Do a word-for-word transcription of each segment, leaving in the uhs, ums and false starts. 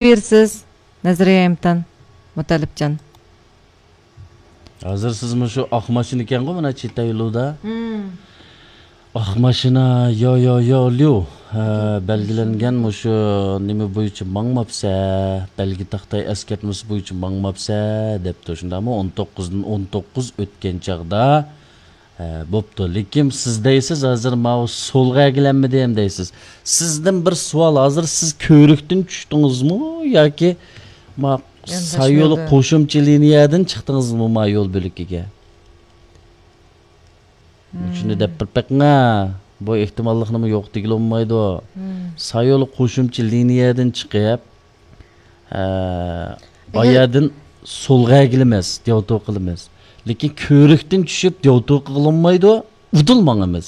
بېرىسىز، نەزەرىيە ئىمتىھان، مۇتەللىپجان. ھازىر سىز مۇشۇ ئاق ماشىنا ئىكەنغۇ، مانا چىتايلۇدا. مم. ئاق ماشىنا، يو، يو، يو، ليۇ. ھە، بەلگىلەنگەن مۇشۇ نېمە بويىچە ماڭماپسە، بەلگە تاختاي ئەسكەرتمىسى بويىچە ماڭماپسە، دەپتۇ. شۇنداقمۇ؟ ئون توققۇزدىن ئون توققۇز ئۆتكەن چاغدا، ھە، بوپتۇ. لېكىن سىز دەيسىز، ھازىر ماۋۇ سولغا ئەگىلەنمىدىم دەيسىز. سىزدىن بىر سوئال، ھازىر سىز كۆۋرۈكتىن چۈشتىڭىزمۇ ياكى ما يانداش سايولى يولدا. قوشۇمچە لىنىيەدىن چىقتىڭىزمۇ ما يول بۆلىكىگە؟ مم. شۇنى دەپ بېرىپ بېقىڭا. بۇ ئېھتىماللىقنىمۇ يوق دېگىلى بولمايدۇ. مم. سايولى قوشۇمچە لىنىيەدىن چىقىپ، ئە، ئەگەر ئايەردىن سولغا ئەگىلىمەس، دياۋتو قىلىمەس. لېكىن كۆۋرۈكتىن چۈشۈپ دياۋتو قىلىنمايدۇ، ئۇدۇل ماڭىمىز.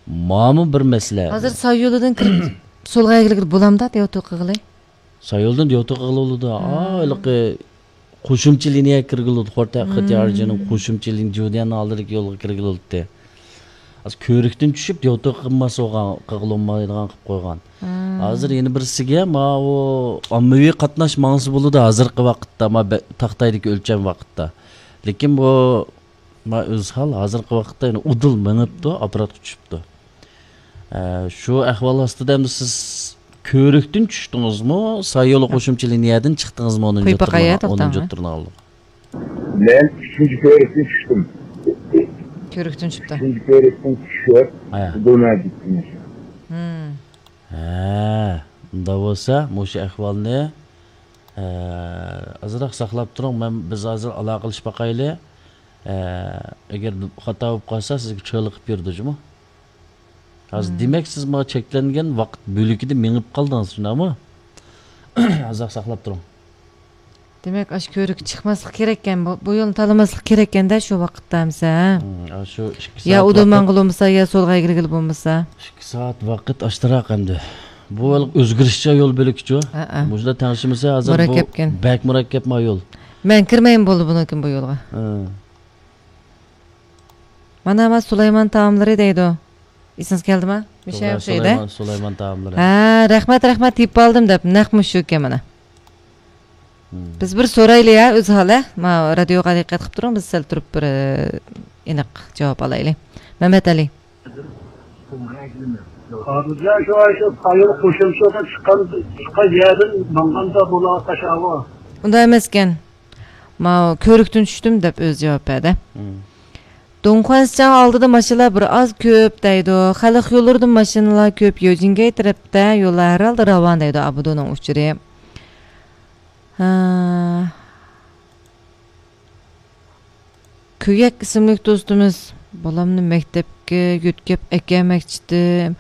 ماما بىر مەسىلە. ھازىر سايولىدىن كىرىپ سولغا ئەگىلگىلى بولامدا، دياۋتو قىلغىلى؟ سايولدىن دياۋتو قىلغىلى بولىدۇ. ھا، ھېلىقى قوشۇمچە لىنىيەگە كىرگىلى بولىدۇ. خورتا خېتيارجىنىڭ قوشۇمچە لىنىيە، جۇديەن ھاللىدىكى يولغا كىرگىلى بولىدۇ. ھازىر كۆۋرۈكتىن چۈشۈپ، دياۋتو قىلماس بولغان، قىلغىلى بولمايدىغان قىلىپ قويغان. ھازىر يەنە بىرسىگە، ماۋۇ ئاممىۋى قاتناش ماڭسا بولىدۇ، ھازىرقى ۋاقىتتا، ما بە-، تاختايدىكى ئۆلچەم ۋاقىتتا. لېكىن بۇ، ما ئۆزھال ھازىرقى ۋاقىتتا يەنە ئۇدۇل مېڭىپتۇ، ئاپپاراتقا چۈشۈپتۇ. ئە، شۇ ئەھۋال ئاستىدا ئەمدى سىز كۆۋرۈكتىن چۈشتىڭىزمۇ؟ سايولى قوشۇمچە لىنىيەدىن چىقتىڭىزمۇ؟ ئونىنچى قويۇپ باقاي، توختاڭ. ئونىنچى تۇرنىڭ ئالدىغا. مەن ئۈچىنچى كۆۋرۈكتىن چۈشتۈم. كۆۋرۈكتىن چۈشتى. ئۈچىنچى كۆۋرۈكتىن چۈشۈپ، ھە. بۇ مەن كەتتىم. ھە، ئۇنداق بولسا، مۇشۇ ئەھۋالنى، ئە، ئازراق ساقلاپ تۇرۇڭ. مەن، بىز ھازىر ئالاقىلىشىپ باقايلى. ئە، ئەگەر خاتا بولۇپ قالسا، سىزگە چالا قىلىپ بېرىدۇ جۇمۇ. ھازىر دېمەك، سىز ماڭا چەكلەنگەن ۋاقىت بۆلىكىدە مېڭىپ قالدىڭىز، شۇنداقمۇ؟ ئازراق ساقلاپ تۇرۇڭ. دېمەك، ئاشۇ كۆۋرۈككە چىقماسلىق كېرەككەن، بۇ، بۇ يولنى تاللىماسلىق كېرەككەن-دە شۇ ۋاقىتتا ئەمسە، ھە؟ ھىم، ئاشۇ ئىككى يا سائەت ئۇدۇل ۋاقىت. ماڭغىلى بولمىسا، يا سولغا ئەگىلگىلى بولمىسا. ئىككى سائەت ۋاقىت ئاشتىراق ئەمدى. بۇ ھېلىقى ئۆزگىرىشچان يول بۆلىكىچۇ. ھەئە. مۇشۇنداق تەڭشىمىسە ھازىر بۇ مۇرەككەپكەن. بەك مۇرەككەپ ما يول. مەن كىرمەيمەن بولدى بۇنىڭكىن بۇ يولغا. ھە. مانا، ما سۇلايمان تائاملىرى دەيدۇ. ئېسىڭىزگە كەلدىمۇ؟ مۇشۇ توغرا، ئوخشايدۇ. سۇلايمان، سۇلايمان تائاملىرى. ھە، رەھمەت، رەھمەت، تېپىپ ئالدىم دەپ، نەق مۇشۇ ئىكەن مانا. ھىم. بىز بىر سورايلى يا، ئۆزھال، ھە؟ ما رادىيوغا دىققەت قىلىپ تۇرۇڭ، بىز سەل تۇرۇپ بىر، ئېنىق جاۋاب ئالايلى. مەمەت ئەلى. ھازىرجان شۇ، شۇ سايىل قوشۇمچىغا چىققان، چىققان يەردىن ماڭغاندا بولۇۋاتقان شاۋۇ. ئۇنداق ئەمەسكەن. ماۋۇ كۆۋرۈكتىن چۈشتۈم دەپ ئۆزى جاۋاب بەردى. ھىم. دۇڭخۇەنسىچاڭ ئالدىدا ماشىنىلار بىر ئاز كۆپ دەيدۇ. خەلق يوللىرىدا ماشىنىلار كۆپ، يوجىنگەي تەرەپتە يوللار ھەر ھالدا راۋان دەيدۇ. ئابىدۇنىڭ ئۇچۇرى. ھە. كۆيەك ئىسىملىك دوستىمىز، بالامنى مەكتەپكە يۆتكەپ ئەكەلمەكچىدىم.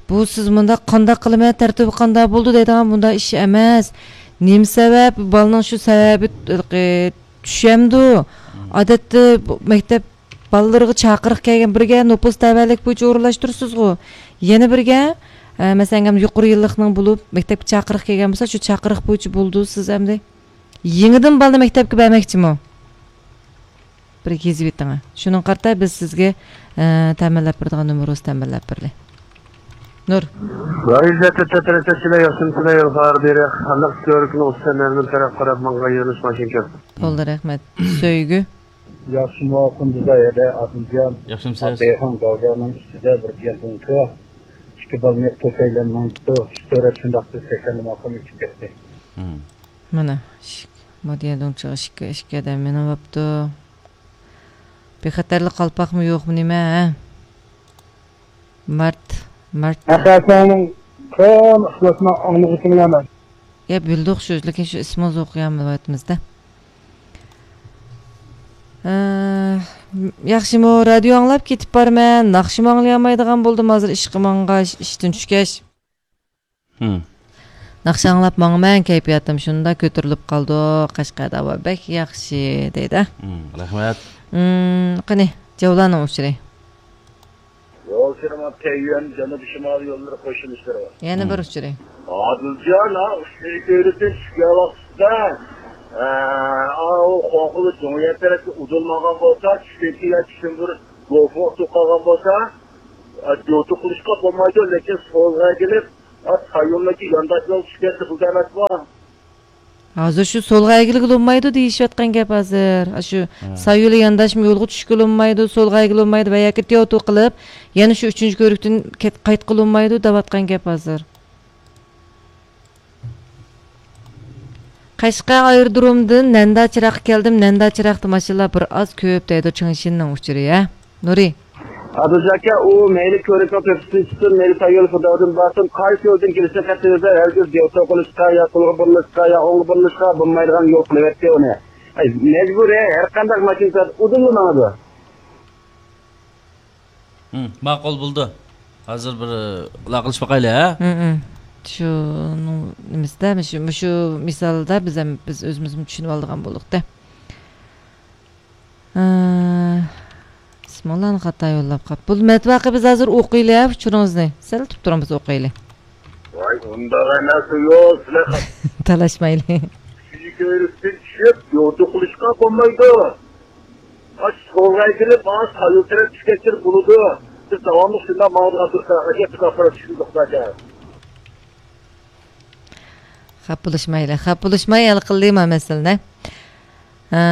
بۇ سىز مۇنداق قانداق قىلىمەن، تەرتىپى قانداق بولدى دەيدىغان مۇنداق ئىش ئەمەس. نېمە سەۋەب؟ بالىنىڭ شۇ سەۋەبى، ئە، چۈشەمدۇ؟ ئادەتتە بۇ مەكتەپ بالىلىرىغا چاقىرىق كەلگەن بىرگە نوپۇس تەۋەلىك بويىچە ئورۇنلاشتۇرىسىزغۇ. يەنە بىرگە، ئە، مەسىلەن، يۇقىرى يىللىقنىڭ بولۇپ مەكتەپكە چاقىرىق كەلگەن بولسا، شۇ چاقىرىق بويىچە بولىدۇ سىز ئەمدى. يېڭىدىن بالىنى مەكتەپكە بەرمەكچىمۇ؟ بىر يېزىۋېتىڭە. شۇنىڭغا قارىتا بىز سىزگە، ئە، تەمىنلەپ بېرىدىغان نومۇرىمىزنى تەمىنلەپ بېرىلى. نۇر. رايزەتتە تەترەتەتچىلەر ياخشىمۇسىلەر يولغا بېرە. خەلق كۆرۈكنى ئۇستىنىڭ تەرەپ قاراپ ماڭغان يۆنىلىش ماشىنا كەپ. بولدى، رەھمەت. سۆيگۈ. ياخشىمۇ، قۇندىزاي ھەدە، ئادىلجان. ياخشىمۇسىز؟ ئابدىخان گاۋجانىڭ ئۈستىدە بىر گەپنىڭكى ئىككى بالىنى توسايلانمايتتۇ. ئۈچ تۆرەت شۇنداق بىز تەكەللىم ئاخىرى ئۆتۈپ كەتتى. مم. مانا، ئىشىك، مودېل دۇڭچىغا ئىشىككە، ئىشىككە دەم مېنىۋاپتۇ. بىخەتەرلىك قالپاقمۇ يوقمۇ نېمە، ھە؟ مارت، مارت. ئەخەسەڭنىڭ قان ئىخلاسنى ئاڭلىغۇچىڭلارمەن. يا، بىلدۇق شۇ، لېكىن شۇ ئىسمىڭىزنى ئوقۇيالمايۋاتىمىز-دە. ئە، ياخشىمۇ، رادىيو ئاڭلاپ كېتىپ بارىمەن. ناخشىمۇ ئاڭلىيالمايدىغان بولدۇم ھازىر ئىشقا ماڭغاچ، ئىشتىن چۈشكەچ. ھىم. ناخشا ئاڭلاپ ماڭىمەن، كەيپىياتىم شۇنداق كۆتۈرۈلۈپ قالىدۇ. قەشقەردە ھاۋا بەك ياخشى، دەيدۇ. ھىم، رەھمەت. ھىم، قېنى، جەۋلاننىڭ ئۇچۇرى. يول سىرىما تەييۈەن جەنۇبىي شىمالىي يوللىرى قوشۇلۇشلىرى بار. يەنە بىر ئۇچۇرى. ئادىلجان، ھا، ئۈچىنچى كۆۋرۈكتىن چۈشكەن ۋاقتىدا، ئە، ئاۋۇ خوخۇلى جۇڭيەن تەرەپكە ئۇدۇلمىغان بولسا، چۈشتىن كېيىن چۈشتىن بىر گوفۇ ئۇتۇپ قالغان بولسا، ئە، جوتۇ قىلىشقا بولمايدۇ، لېكىن سولغا ئەگىلىپ، ئات سايونلىكى يانداشلار چۈشكەن قىزىل ئەمەسمۇ؟ ھازىر شۇ سولغا ئەگىلگىلى بولمايدۇ دېيىشىۋاتقان گەپ ھازىر. ئاشۇ ھە. سايولى يانداشمۇ يولغا چۈشكىلى بولمايدۇ، سولغا ئەگىلگىلى بولمايدۇ ۋە ياكى تياۋتو قىلىپ، يەنە شۇ ئۈچىنچى كۆۋرۈكتىن كەت-، قايتقىلى بولمايدۇ دەۋاتقان گەپ ھازىر. قەشقەر ئايرودرومدىن نەنداچىراغقا كەلدىم، نەنداچىراغدا ماشىنىلار بىر ئاز كۆپ دەيدۇ چېڭشىننىڭ ئۇچۇرى، ھە؟ نۇرى. ئادىلجان ئاكا، ئۇ مەيلى كۆۋرۈكنىڭ تۆپىسىدىن چىقسۇن، مەيلى تايول خۇداۋدىن بارسۇن، قايسى يولدىن كېلىشىنى قەتئىينەزەر، ھەرگىز دياۋتو قىلىشقا، يا سولغا بۇرۇلۇشقا، يا ئوڭغا بۇرۇلۇشقا بولمايدىغان يول قىلىۋەتتى ئۇنى. ئەي، مەجبۇرىي، ھەرقانداق ماشىنا ئۇدۇللا ماڭىدۇ. ھىم، ماقۇل بولدى. ھازىر بىر ئالاقىلىشىپ باقايلى، ھە؟ ھىم، ھىم. شۇنىڭ نېمىسىدە، مۇشۇ، مۇشۇ مىسالدا بىز ھەم، بىز ئۆزىمىزمۇ چۈشىنىۋالىدىغان بولدۇق-دە. ئە، ئىسمىڭلارنى خاتا يوللاپ قاپ. بۇ مەتبەقە بىز ھازىر ئوقۇيلى، ھە، ئۇچۇرىڭىزنى. سەل تۇرۇپ تۇرۇڭ، بىز ئوقۇيلى. ۋاي، ئۇنداق ئەمەس، يوق، سىلەر تالاشمايلى. ئۈچىنچى كۆۋرۈكتىن چۈشۈپ، يوتۇ قىلىشقا بولمايدۇ. ئاش سولغا ئېگىلىپ، ئاش سايول تەرەپ چۈشكەچكە بولىدۇ. بىز داۋاملىق شۇنداق ماڭىدىغان تۇرساق، ئەگەر بىز ئاپپارات چۈشكۈزدۇق زادى. خاپا بولۇشمايلى، خاپا بولۇشماي ھەل قىلدى ما مەسىلىنى. ئە،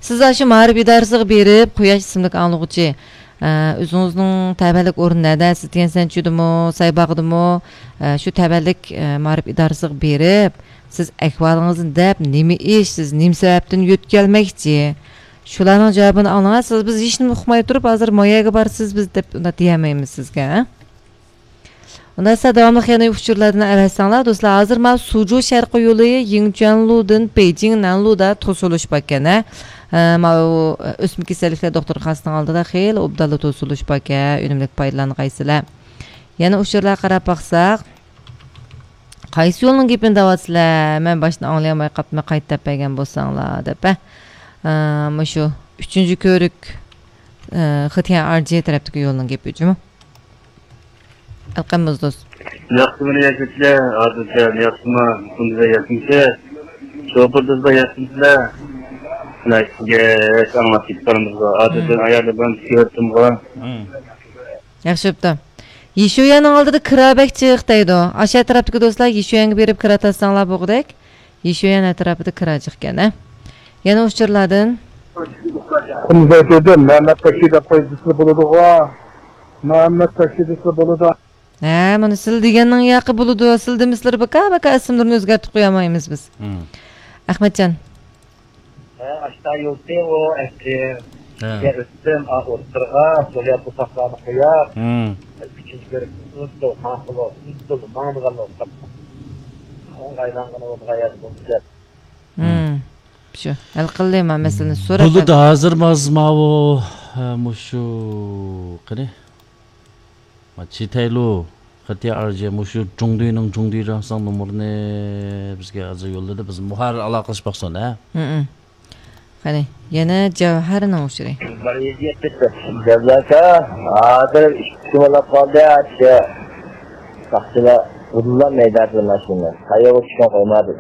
سىز ئاشۇ مائارىپ ئىدارىسىغا بېرىپ، قۇياش ئىسىملىك ئاڭلىغۇچى، ئە، ئۆزىڭىزنىڭ تەۋەلىك ئورنى نەدە؟ سىز تيەنسەنچۈدىمۇ، سايباغدىمۇ، ئە، شۇ تەۋەلىك، ئە، مائارىپ ئىدارىسىغا بېرىپ، سىز ئەھۋالىڭىزنى دەپ، نېمە ئىش، سىز نېمە سەۋەبتىن يۆتكەلمەكچى؟ شۇلارنىڭ جاۋابىنى ئاڭلىڭا، سىز بىز ھېچنېمە ئۇقماي تۇرۇپ، ھازىر ما يەرگە بارىسىز بىز دەپ ئۇنداق دېيەلمەيمىز سىزگە، ھە؟ ئۇنداق دېسە داۋاملىق يەنە ئۇچۇرلاردىن ئەۋەتسەڭلار، دوستلار. ھازىر مانا سۇجۇ شەرقىي يولى، يىڭچۈەنلۇدىن بېيجىڭ نەنلۇدا توسۇلۇش باركەن، ھە. ئە، ماۋۇ ئۆسمە كېسەللىكلەر دوختۇرخانىسىنىڭ ئالدىدا خېلى ئوبدانلا توسۇلۇش باركەن، ئۈنۈملۈك پايدىلانغايسىلەر. يەنە ئۇچۇرلارغا قاراپ باقساق، قايسى يولنىڭ گېپىنى دەۋاتىسىلەر؟ مەن باشتىن ئاڭلىيالماي قاپتىمەن، قايتا دەپ بەرگەن بولساڭلار، دەپ، ھە. ئە، مۇشۇ ئۈچىنچى كۆۋرۈك، ئە، خېتيەن ئارجى تەرەپتىكى يولنىڭ گېپى جۇمۇ. ئەلقەم مۇزدۇز. ياخشىمۇ ياكى سىلەر، ھازىرچە ياخشىمۇ، كۈندۈزدە ياخشىمۇسىز؟ شوپۇر دوستلار ياخشىمۇسىلەر؟ سىلەر ئىككىگە ھېچ ئاڭلاپ كېتىپ قالىمىزغۇ. ھازىرچە ئايالى بىلەن كۆرۈپتۇمغۇ. ياخشى بوپتۇ. يىشۇيەننىڭ ئالدىدا كىرا بەك جىق دەيدۇ. ئاشۇ ئەتراپتىكى دوستلار يىشۇيەنگە بېرىپ كىرا تارتساڭلار بوغۇدەك. يىشۇيەن ئەتراپىدا كىرا جىقكەن، ھە؟ يەنە ئۇچۇرلاردىن. كۈندۈزدە مەمەت تاكسى دەپ قويسىلا بولىدىغۇ. مەمەت تاكسى دېسىلا بولىدۇ. ھە، مانا سىلە دېگەننىڭ ياقى بولىدۇ. سىلە دېمىسىلىرى بىكار، بىكار ئىسىملىرىنى ئۆزگەرتىپ قويالمايمىز بىز. مم. ئەخمەتجان. ھە، ئاشتا يولتى ئۇ ئەسلى. ھە. ئۆتتۈم، ئا، ئوتتۇرىغا، سوليا بوساقلارنى قويۇپ، مم. ئۈچىنچى بۆلۈكنى ئۇزدۇ، ماقۇل، ئۇزدۇ، ماڭىدىغان بولساق. ئوڭغايلانغىنى بولىدىغان يەردە بولدى دەپ. مم. شۇ، ھەل قىلدى ما مەسىلىنى سوراپ. بولىدۇ، ھازىر ماز ماۋۇ، ھە، مۇشۇ، قېنى؟ ما چىتەيلۇ، خېتيا ئارجى، مۇشۇ جۇڭدۇينىڭ جۇڭدۇي رەڭساڭ نومۇرىنى بىزگە ھازىر يوللىدى، بىز مۇھەر ئالاقىلىشىپ باقسۇن، ھە؟ مم. قېنى، يەنە جەۋھەرنىڭ ئۇچۇرى. جەۋھەر، ھازىر ئىككى كۈن بولۇپ قالدى، ئاشۇ ساقچىلار ئۇدۇللا مەيداندىن ماشىنا. قايەرگە چۈشكەن قويمادى.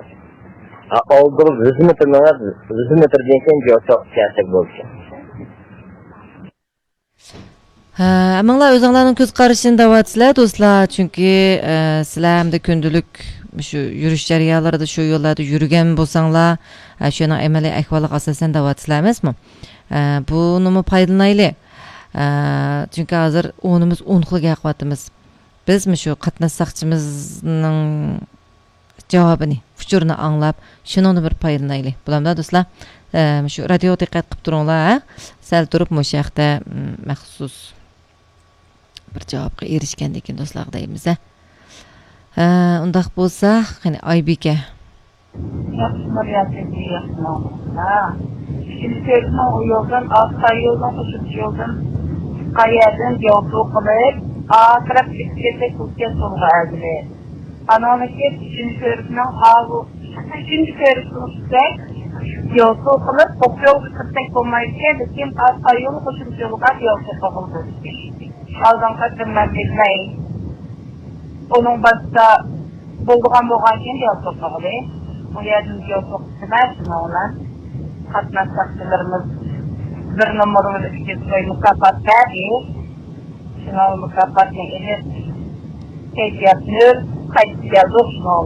ھا، ئالدىغا يۈز مېتىر مېڭىپ، يۈز مېتىردىن كېيىن جوچۇق كەلسەك بولدى. ھە، ئەمىڭلار ئۆزۈڭلارنىڭ كۆز قارىشىنى دەۋاتىسىلەر، دوستلار. چۈنكى، ئە، سىلەر ئەمدى كۈندىلىك شۇ يۈرۈش جەريانلىرىدا شۇ يوللاردا يۈرگەن بولساڭلار، ئە، شۇنىڭ ئەمەلىي ئەھۋالىغا ئاساسەن دەۋاتىسىلەر ئەمەسمۇ؟ ئە، بۇنىمۇ پايدىلىنايلى. ئە، چۈنكى ھازىر ئونىمىز ئون خىل گەپ قىلىۋاتىمىز. بىز مۇشۇ قاتناش ساقچىمىزنىڭ جاۋابىنى، ئۇچۇرىنى ئاڭلاپ، شۇنىڭدىن بىر پايدىلىنايلى. بولامدا، دوستلار؟ ئە، شۇ رادىيوغا دىققەت قىلىپ تۇرۇڭلار، ھە؟ سەل تۇرۇپ مۇشۇ ھەقتە، م، مەخسۇس بىر جاۋابقا ئېرىشكەندىن كېيىن دوستلارغا دەيمىز، ھە؟ ئە، ئۇنداق بولسا، قېنى، ئايبىكە. ياخشىمۇ ياكى ياخشىمۇ؟ ھا. ئىككىنچى كۆرۈشنىڭ ئۇ يولدىن، ئاستا يولدىن، قوشۇمچە يولدىن، قايەردىن يوتۇ قىلىپ، ئا تەرەپ چىقىپ كەتسەك بولىدىكەن سولغا ئەگىلى. ئانىڭدىن كېيىن ئۈچىنچى كۆرۈكنىڭ ئاۋۇ، ئۈچىنچى كۆرۈكنىڭ ئۈستىدە يوسۇ قىلىپ، ئوق يولغا كىرسەك بولمايدىكەن، لېكىن ئاستا يول قوشۇمچە يولغا يول قىلغىلى بولىدىكەن. ئالدىنقى قېتىم مەن بىلمەي. ئۇنىڭ باشتا بولىدىغان بولغانكىن يول قىلغىلى. ئۇ يەردىن يول قىلىپ شۇنىڭ بىلەن قاتناش ساقچىلىرىمىز بىر نومۇر بىلەن ئىككى سوي مۇكاپات بەردى. شۇنىڭ مۇكاپاتنى ئېلىپ، كەيپىيات نۆل، قايتىپ كەلدۇق شۇنىڭ